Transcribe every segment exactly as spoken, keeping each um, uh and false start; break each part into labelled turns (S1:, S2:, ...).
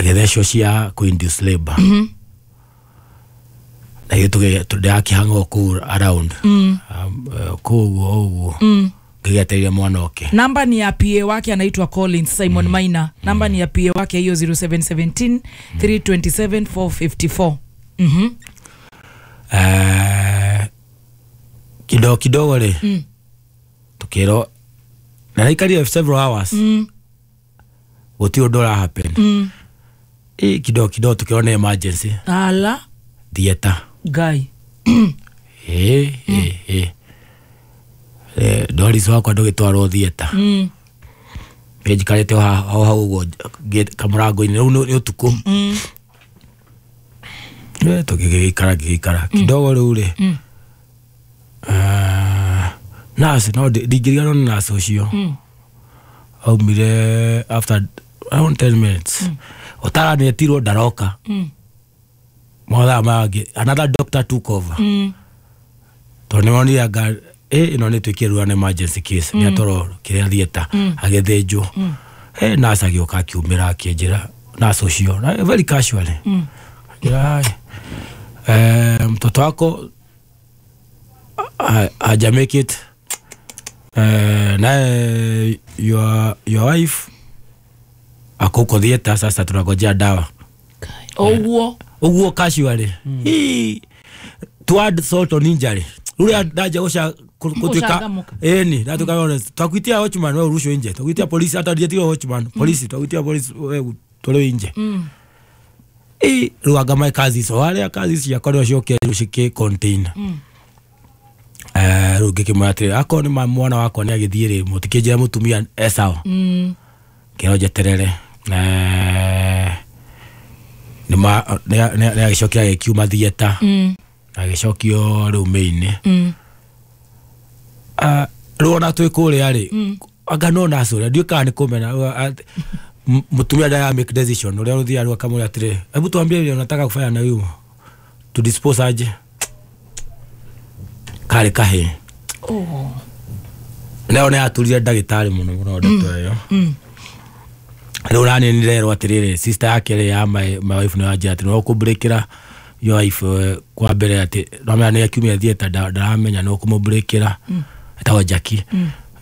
S1: Agĩthecwo cia kũ induce labor na ithuĩ ndĩrakĩhang'o kũu around um, eh, kũu ũguo ũguo ngĩgĩetereire mwana oke.
S2: Namba ni ya P A wake, anaitwa Collins Simon mm. Maina. Namba ni ya P A wake hiyo, zero seven one seven three two seven four five four. Mhm.
S1: Eh, kidogo kidogo rĩ
S2: Mm.
S1: tukĩrwo na naikarire several hours
S2: Mm.
S1: gũtirĩ ũndũ ũra happen.
S2: Mm.
S1: Ĩ, kidogo kidogo tukĩrwo nĩ emergency
S2: Ala
S1: theatre.
S2: Ngai.
S1: ĩ ĩ ĩ Eh, Doris wakwa ndũgĩtwarwo theatre.
S2: Mm.
S1: Niĩ njikarĩte o ha- o hau ũguo ngĩ- kamũrango-inĩ rĩu nĩ nĩ ũtukũ.
S2: Mm.
S1: Eh, tũgĩgĩikara ngĩgĩikara kidogo rĩu rĩ
S2: Mm.
S1: ah, nurse no ndi- ndingĩriganĩrwo nĩ nurse ũcio.
S2: Mm.
S1: Aumire after around ten minutes ũtara nĩetirwo ndaroka.
S2: Mm.
S1: Mathaa mangĩ another doctor took over
S2: Mm.
S1: tondũ nĩmonire anga ĩ ĩno nĩ tuĩkire rĩu an emergency case, nĩ atwarwo kĩrĩa theatre agĩthĩnjwo. Eh, nurse agĩũka akiumĩra akĩnjĩra, nurse ũcio na very casually
S2: Mm.
S1: akĩnjĩra, "Hi, eh, mtoto wako ha- haja make it, eh, naye your, your wife ako huko theatre, sasa tunangojea dawa."
S2: Ũguo.
S1: Ũguo casually. Hii, to add salt on injury, rũrĩa ndanja gũca kutuika
S2: Gũcangamũka.
S1: Ĩni ndatuĩka honest, twakuitia watchman, we urushwe nje, twakuitia polisi, hata ndietire watchman, polisi, twakuitia polisi, we utolewe nje.
S2: Mm.
S1: Ĩ, rĩu anga my kazi icio harĩa kazi ciakwa nĩo ciokire rĩu cikĩ contain.
S2: Mm.
S1: Eh, rĩu ngĩkĩmwĩra atĩrĩ, akorwo nĩ ma mwana wakwa nĩ agĩthiĩ rĩ, mũtikĩnjĩra mũtumia e sawa.
S2: Mm.
S1: Kĩro njeterere. Eh, nĩ nĩ agĩcokire agĩkiuma theatre
S2: Mm.
S1: agĩcokio rĩu main.
S2: Mm.
S1: Ah, rĩu ona twĩ kũrĩa rĩ, anga no nurse ũrĩa ndiũĩ kana nĩ kũmena uh, m- mũtumia ndara make decision ũrĩa ũthiaga rĩu akamwĩra atĩrĩ, "Hebu tuambie vile unataka kufanya na huyu, tu dispose aje?" Karĩ kahĩ.
S2: Oh.
S1: Nayo nĩ yaturire ndagĩtarĩ mũno mũno ndeto ĩyo.
S2: Mm.
S1: Rĩu nani nĩrerwo atĩrĩrĩ, sister yake rĩ ya my, my wife nĩ wanjĩra atĩ no kũmbreakĩra your wife, eh, kwa mbere atĩ nomenya nĩ akiumia theatre, nda- ndaramenya no kũmũbreakĩra, etagwo Jackie,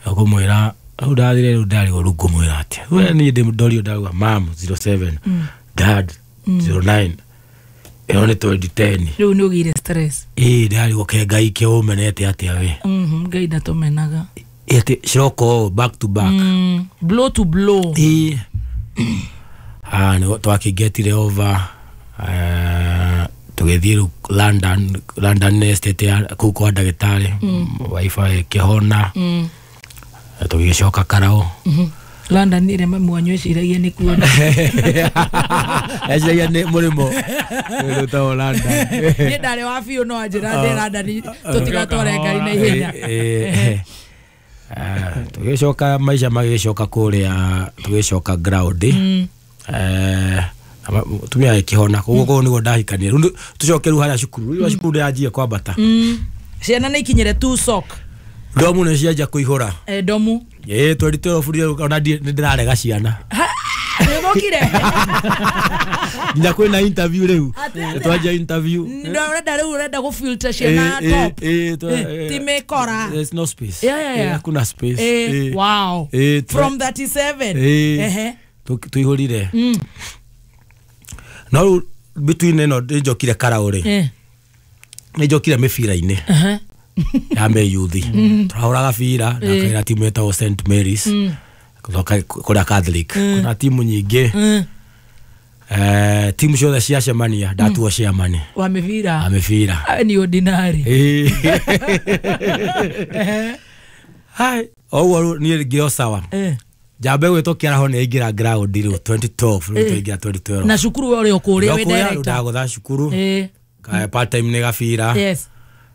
S1: ũkũmwĩra rĩu ndathire rĩu ndarigwo rĩu ngũmwĩra atĩa. We niĩ ndĩ ndorio ndauga mam zero seven, dad zero nine, ĩyo nĩ twenty ten.
S2: Rĩu nĩ ũgĩire stress.
S1: Ĩ, ndarigwo ke Ngai ke ũmenete atĩa we.
S2: Mhm, Ngai ndatũmenaga.
S1: Ĩ, atĩ ciroka ũũ back to back.
S2: Mm. Blow to blow.
S1: Ĩ, ah nĩ twakĩgetire over, eh, tũgĩthiĩ rĩu London. London nĩ estate ya kũu kwa ndagĩtarĩ, wife ĩkĩhona.
S2: Mm.
S1: Tũgĩgĩcoka Karau.
S2: Mhm. London ĩrĩa mami wanyu eciragia nĩ kuona.
S1: Eciragia nĩ mũrĩmo ũtagwo London.
S2: Niĩ ndarĩ wa biũ no anjĩra ndĩ London tũtigatware ngari na ihenya.
S1: Eh, eh, eh, tũgĩcoka maica magĩcoka kũrĩa, tũgĩcoka ground.
S2: Mm.
S1: Eh, ama- mũtumia agĩkĩhona koguo koguo nĩguo ndahikania. Rĩu nĩ- tũcoke rĩu harĩa cukuru, rĩu cukuru nĩyanjie kwambata.
S2: Mm. Ciana nĩ ikinyĩre two sock.
S1: Ndomu nĩ cianjia kũihũra.
S2: Eh, domu.
S1: Ĩ, twenty twelve rĩu ona ndiĩ- nĩ ndĩrarega ciana.
S2: Nĩũthũkire.
S1: Nginya kwĩna interview rĩu.
S2: Atĩ- atĩ-
S1: Twanjia interview.
S2: Ũrenda rĩu ũrenda gũfilter ciana
S1: Eh, eh,
S2: top.
S1: eh, twa-
S2: Eh,
S1: eh,
S2: ti mĩkora.
S1: There's no space.
S2: Yeah, yeah, yeah.
S1: Eh, hakuna space.
S2: Eh,
S1: Eh,
S2: wow.
S1: eh, twa-
S2: From thirty-seven.
S1: Eh,
S2: Ehe.
S1: tu- tuihũrire.
S2: Mm.
S1: No rĩu between ĩno nĩ njokire Karau rĩ,
S2: Eh.
S1: nĩ njokire mĩbira-inĩ
S2: Aha.
S1: ya mĩyuthi, tũrahũraga bira na kaira timu ĩtagwo Saint Mary's gũcoka kũrĩa Catholic kuna timu nyingĩ.
S2: Mm.
S1: Eh, timu ciothe ciacemania ndatuo chairman
S2: Wa mĩbira.
S1: A mĩbira.
S2: Ah, ni ordinary.
S1: Eh. Hai, o ũguo rĩu niĩ ngĩo sawa.
S2: Eh.
S1: Njambe gwĩtwo kĩaraho nĩ aingĩra ground rĩu twenty twelve, rĩu twaingĩra twenty twelve.
S2: Na cukuru we ũrĩ o kũrĩa wĩ
S1: Ndokũrĩa rĩu
S2: director.
S1: ndagũtha cukuru.
S2: Eh.
S1: Ka- part time nĩ gabira.
S2: Yes.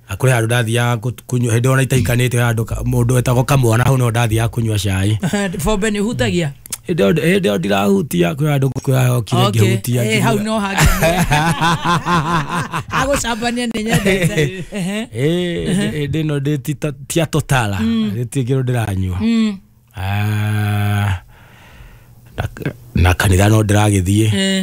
S1: Na kũrĩ handũ ndathiaga kũ- kũnyua hĩndĩ ĩyo ona itaikanĩte, handũ ka- mũndũ wetagwo kamwana, hau no ndathiaga kũnyua cai.
S2: Bombe nĩ ũhutagia.
S1: Hĩndĩ ĩyo hĩndĩ ĩyo ndirahutia, kwĩ handũ kwĩrahokire
S2: Okay.
S1: ngĩhutia.
S2: Eh, hau no hangĩ. Agũcambania nĩ nyendete. Ehe.
S1: Ĩ, hĩndĩ ĩno ndĩ ti- tia totala gĩtirĩ kĩndũ ndĩranyua.
S2: Mm.
S1: Ah, na- na kanitha no ndĩragĩthiĩ.
S2: Eh.